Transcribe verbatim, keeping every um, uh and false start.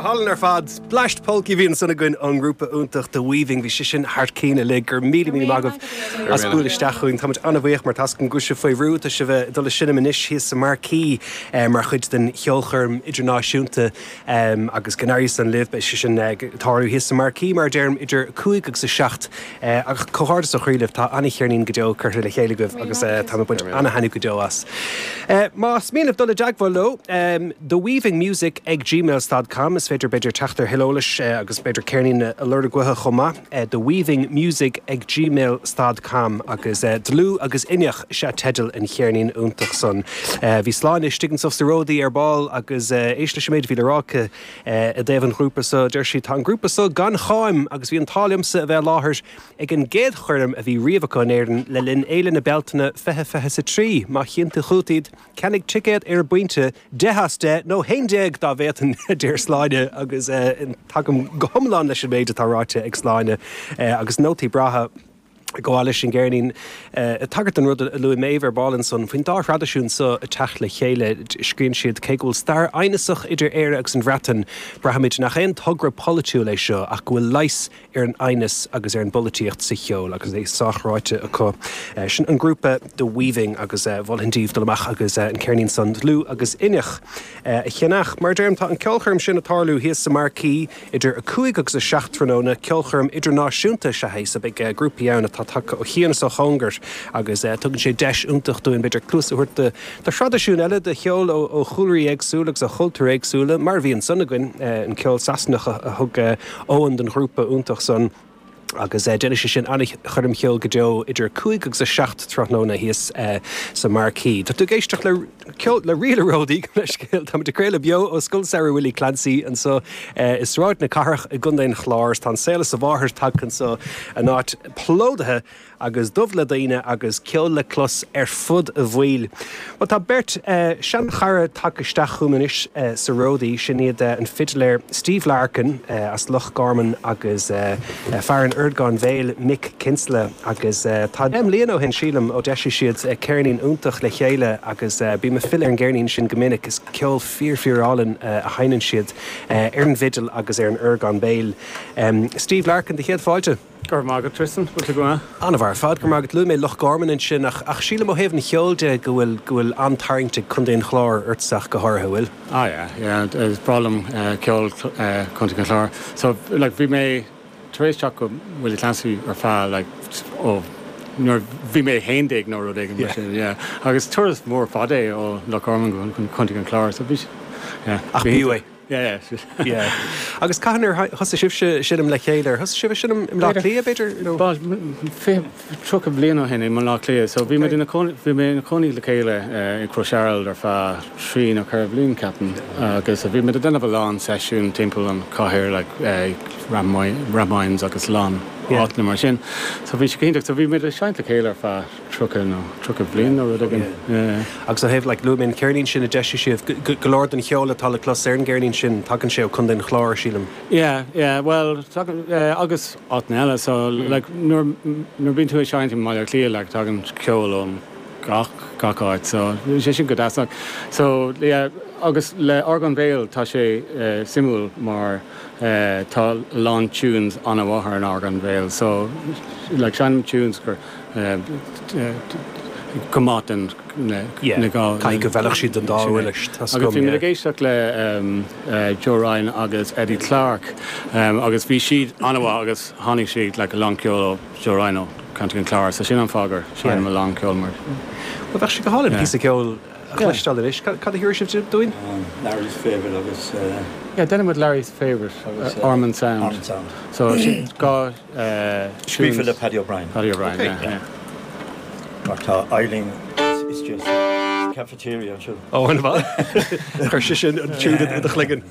hálainn ar fad Bleaist Polcaí a bhí ansan againn ón ngrúpa iontach The Weaving bhí sé sin thar cinn uilig go raibh míle míle maith agaibh as bualadh isteach chugainn Táimid an-bhuíoch mar tá go bhfuil sibh faoi bhrú tá sibh ag dul ag seinm anois thíos sa Marquee mar chuid den cheolchoirm idirnáisiúnta agus go n-éirí san libh beidh sé sin tarlú thíos sa Marquee mar deirim idir cúig agus a seacht ach comhghairdeas ó chroí libh tá an-cheirnín go deo curtha le chéile agaibh agus tá ag baint an-taitneamh go deo as. Más mian libh dul i dteagmháil leo The Weaving Music ag gmail.com is féidir b'fhéidir teacht ar thuilleadh eolais agus b'fhéidir ceirnín a lorg uathu chomh maith The Weaving Music ag gmail.com agus dlúth agus inneach is ea teideal an cheirnín iontach san. Bhí Sláine istigh anseo sa Ródaí ar ball agus éist leis an méid a bhí le rá aici i dtaobh an ghrúpa seo deir sí tá an grúpa seo gan cháim agus bhí an t-ádh liomsa a bheith i láthair ag an gcéad choirm a bhí riamh acu in Éirinn le linn Fhéile na Bealtaine fiche fiche sa trí má chíonn tú chugat iad ceannaigh ticéad ar an bpointe deich as deich nó haon déag dá bhféadfainn deir Sláine agus tagaim go hiomlán leis an méid atá ráite ag Sláine agus nótaí breátha go leis an gceirnín tagairt an rud a luaigh Méabh ar ball ansan faoin dá thraidisiún seo ag teacht le chéile scríobhann siad cé go bhfuil stair aighneasach idir Éire agus an Bhreatain braithimid nach aon togra polaitiúil é seo ach go bhfuil leigheas ar an aighneas agus ar an bpolaitíocht sa cheol agus é sách-ráite acu. Sin an grúpa The Weaving agus mholfainn daoibh dul amach agus an ceirnín san dlúth agus inneach a cheannach. Mar deirim tá an ceolchoirm sin ag tarlú thíos sa Marquee idir a cúig agus a seacht tráthnóna ceolchoirm idirnáisiúnta is ea é so beidh grúpaí ann atá tagtha ó chian is ó chóngar agus tugann sé deis iontach dúinn b'fhéidir cluas a thabhairt do thraidisiún eile de cheol ó chúlraí éagsúla agus ó chultúir éagsúla mar bhí ansan againn an ceol Sasanach a thug Eoin den ghrúpa iontach san. agus déanfaidh sé sin an-choirm cheoil go deo idir cúig agus a seacht tráthnóna thíos sa Marquee. Tá tú ag éisteacht le ceol le Ríle Ródaí le scéal Tá ag craoladh beo ó Scoil Samhraidh Willie Clancy anseo i Sráid na Cathrach i gContae an Chláir tá an saol is a mháthair tagtha anseo an áit plódaithe agus dubh le daoine agus ceol le clos ar fud an bhaill. Well tá beirt uh, seanchara tagtha isteach chugam anois uh, sa Ródaí sin iad uh, an fidléir Steve Larkin uh, as Loch Garman agus uh, uh, fear an orgáin bhéil Mick Kinsella agus uh, tá deich mbliana ó shin sílim ó d'eisigh siad uh, ceirnín iontach le chéile agus uh, bím ag filleadh ar an gceirnín sin go minic is ceol fíor fíorálainn uh, a sheinneann siad uh, ar an bhfidil agus ar an orgán béil. Um, Steve Larkin de chéad fáilte. Gur mágad Tristan bhfuil go An-mhaith ar fad gur mágad lu mé Loch Garman ansin ach ach sílim ó thaobh an cheoil de go bhfuil go bhfuil an-tarraingt ag Contae an Chláir ortsa go háirithe bhfuil. Ah yeah, yeah, is breá liom uh, ceol uh, Contae an Chláir. So like bhí mé tar éis teacht go Willie Clancy ar feadh like ó nuair bhí mé haon déag nó rud éigin mar sin, yeah. Agus turas mór fada é ó Loch Garman go Contae an Chláir, so bhí yeah. Ach b'fhiú é. Yeah, yeah. Yeah. Agus cathain ar thosaigh sibhse ag seinm le chéile, thosaigh sibh ag seinm i mBleá Cliath b'fhéidir? Ba tríocha bliain ó shin i mBleá Cliath, so bhí mé ina bhí mé ina cónaí le chéile i Crois ar feadh trí nó ceithre bliana ceapaim agus bhí mé déanamh a lán seisiún timpeall an chathair like Rathmines agus lán áiteanna mar sin. So bhí sé cinnte so bhí mé seinnte le chéile ar feadh tríocha nó tríocha bliain nó rud éigin. Agus ó thaobh like luaigh mé an ceirnín sin a d'eisigh sibh go leor den cheol atá le clos ar an gceirnín sin tagann sé ó Chontae an Chláir sílim. Yeah, yeah, well agus áiteanna eile so like nuair nuair bíonn tú ag seinnt i mBaile Átha Cliath like tagann ceol ón gach gach áit so sé sin go deas so yeah, agus le orgán béil tá sé uh, suimiúil mar uh, tá lán tunes an-mhaith ar an orgán béil so like seinnim tunes gur uh, uh, go maith den na Caithfidh go bhfeilfeadh siad den dá uirlis Agus bhí mé ag éisteacht le um, uh, Joe Ryan agus Eddie Clark um, agus bhí siad an-mhaith agus tháinig siad like, a lán ceol ó Joe Ryan ó Contae an Chláir, so sin an fáth gur seinnim a lán ceol mar. Well bheadh sé go hálainn píosa ceoil a chloisteáil anois, cad a thabharfaidh sibh dúinn? Larry's Favourite agus Yeah, déanfaidh muid Larry's Favourite uh, Ormond Sound. Ormond Sound. So sin dhá uh, Scríofa le Paddy O'Brien. Paddy O'Brien, Okay. yeah, yeah. Mar tá Eileen is just cafeteria anseo. Ó an bha Chuir sé sin an tune i do chloigeann.